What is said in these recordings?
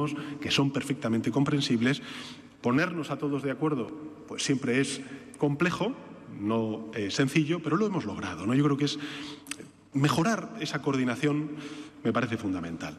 vivimos, que son perfectamente comprensibles. Ponernos a todos de acuerdo, pues siempre es complejo, no sencillo, pero lo hemos logrado, ¿no? Yo creo que es mejorar esa coordinación me parece fundamental.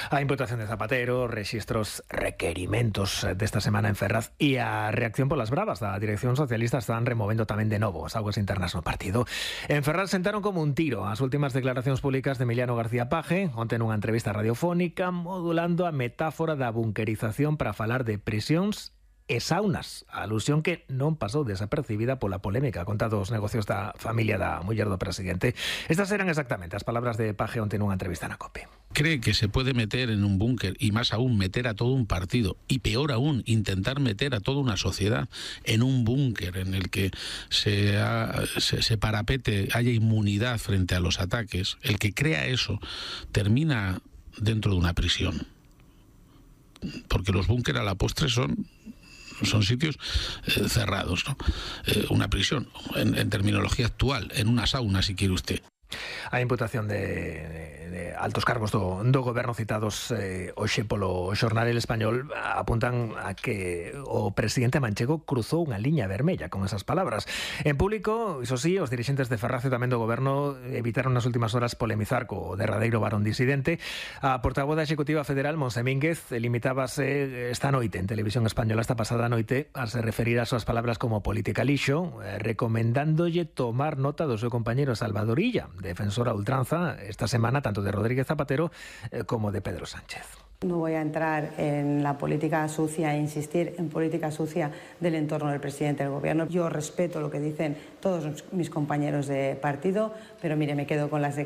A imputación de Zapatero, rexistros requerimentos desta semana en Ferraz e a reacción polas bravas da dirección socialista están removendo tamén de novo as augas internas no partido. En Ferraz sentaron como un tiro as últimas declaracións públicas de Emiliano García Paje, onte nunha entrevista radiofónica, modulando a metáfora da bunkerización para falar de prisións e saunas, a alusión que non pasou desapercibida pola polémica contra os negocios da familia da muller do presidente. Estas eran exactamente as palabras de Paje onte nunha entrevista na COPE. Cree que se puede meter en un búnker y más aún meter a todo un partido y peor aún intentar meter a toda una sociedad en un búnker en el que se parapete, haya inmunidad frente a los ataques. El que crea eso termina dentro de una prisión, porque los búnker a la postre son sitios cerrados, ¿no? Una prisión, en terminología actual, en una sauna, si quiere usted. A imputación de altos cargos do goberno citados hoxe polo xornal El Español apuntan a que o presidente manchego cruzou unha liña vermella con esas palabras. En público, iso sí, os dirixentes de Ferraz e tamén do goberno evitaron nas últimas horas polemizar co derradeiro varón disidente. A portavoz da Executiva Federal, Monse Mínguez, limitábase esta noite en Televisión Española, esta pasada noite, a se referir ás súas palabras como política lixo, recomendándolle tomar nota do seu compañeiro Salvador Illa, defensora a ultranza esta semana tanto de Rodríguez Zapatero como de Pedro Sánchez. No voy a entrar en la política sucia e insistir en política sucia del entorno del presidente del gobierno. Yo respeto lo que dicen todos mis compañeros de partido, pero mire, me quedo con las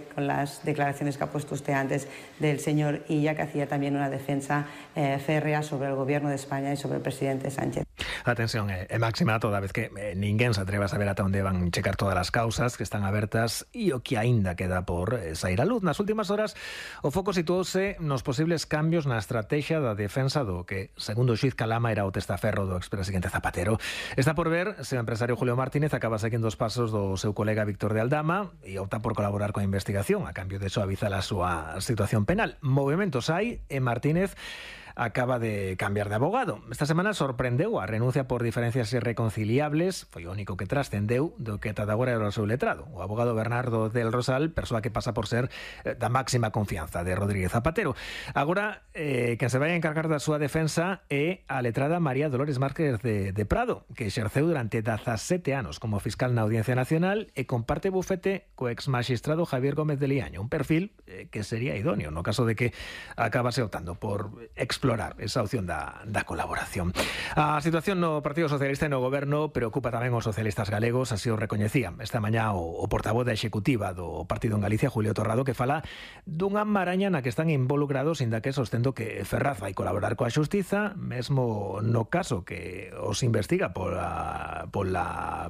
declaraciones que ha puesto usted antes del señor Illa, que hacía también una defensa férrea sobre el gobierno de España y sobre el presidente Sánchez. A tensión é máxima toda vez que ninguén se atreva a saber ata onde van checar todas as causas que están abertas e o que aínda queda por sair a luz. Nas últimas horas o foco situouse nos posibles cambios na estrategia da defensa do que, segundo o xuiz Calama, era o testaferro do expresidente Zapatero. Está por ver se o empresario Julio Martínez acaba seguindo os pasos do seu colega Víctor de Aldama e opta por colaborar coa investigación a cambio de suavizar a súa situación penal. Movementos hai e Martínez acaba de cambiar de abogado. Esta semana sorprendeu a renuncia por diferencias irreconciliables, foi o único que trascendeu do que ata agora era o seu letrado. O abogado Bernardo del Rosal, persoa que pasa por ser da máxima confianza de Rodríguez Zapatero. Agora, quen se vai a encargar da súa defensa é a letrada María Dolores Márquez de Prado, que exerceu durante 17 anos como fiscal na Audiencia Nacional e comparte bufete co exmaxistrado Javier Gómez de Liaño, un perfil que sería idóneo no caso de que acabase optando por explorar esa opción da colaboración. A situación no Partido Socialista e no goberno preocupa tamén os socialistas galegos, así o recoñecía esta mañá o portavoz da Executiva do Partido en Galicia, Julio Torrado, que fala dunha maraña na que están involucrados, inda que sostendo que Ferraz vai colaborar coa xustiza, mesmo no caso que os investiga pola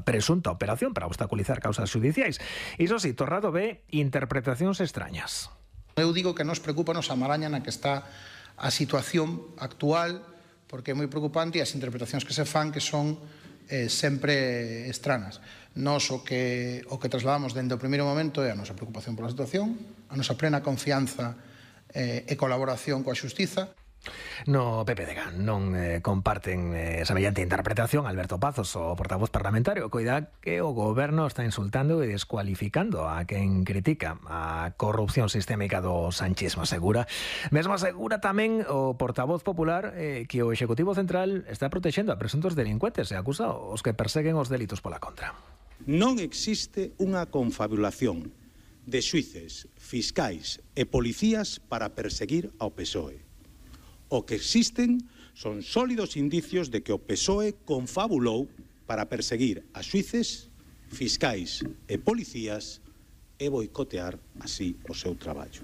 presunta operación para obstaculizar causas judiciais. Iso sí, Torrado ve interpretacións extrañas. Eu digo que nos preocupa a maraña na que está a situación actual, porque é moi preocupante e as interpretacións que se fan que son sempre estranas. Nos o que trasladamos dende o primeiro momento é a nosa preocupación pola situación, a nosa plena confianza e colaboración coa xustiza. No PPDG non comparten semellante interpretación. Alberto Pazos, o portavoz parlamentario, coida que o goberno está insultando e descualificando a quen critica a corrupción sistémica do sanchismo. Asegura tamén o portavoz popular que o Executivo Central está protexendo a presuntos delincuentes e acusa os que perseguen os delitos pola contra. Non existe unha confabulación de xuíces, fiscais e policías para perseguir ao PSOE. O que existen son sólidos indicios de que o PSOE confabulou para perseguir a xuíces, fiscais e policías e boicotear así o seu traballo.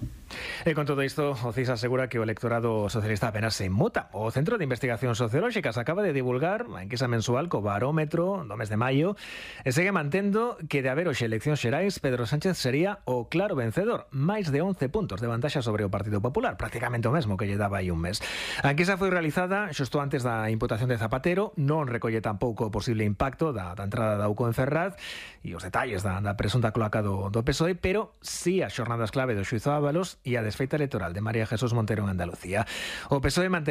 E con todo isto, o CIS asegura que o electorado socialista apenas se inmuta. O Centro de Investigacións Sociolóxicas acaba de divulgar a enquisa mensual co barómetro do mes de maio e segue mantendo que de haber hoxe eleccións xerais, Pedro Sánchez sería o claro vencedor, máis de 11 puntos de vantaxa sobre o Partido Popular, prácticamente o mesmo que lle daba aí un mes. A enquisa foi realizada xusto antes da imputación de Zapatero, non recolle tampouco o posible impacto da entrada da UCO en Ferraz e os detalles da presunta cloaca do PSOE, pero sí as xornadas clave do xuízo Ábalos e a desfeita electoral de María Jesús Montero en Andalucía. O PSOE mantería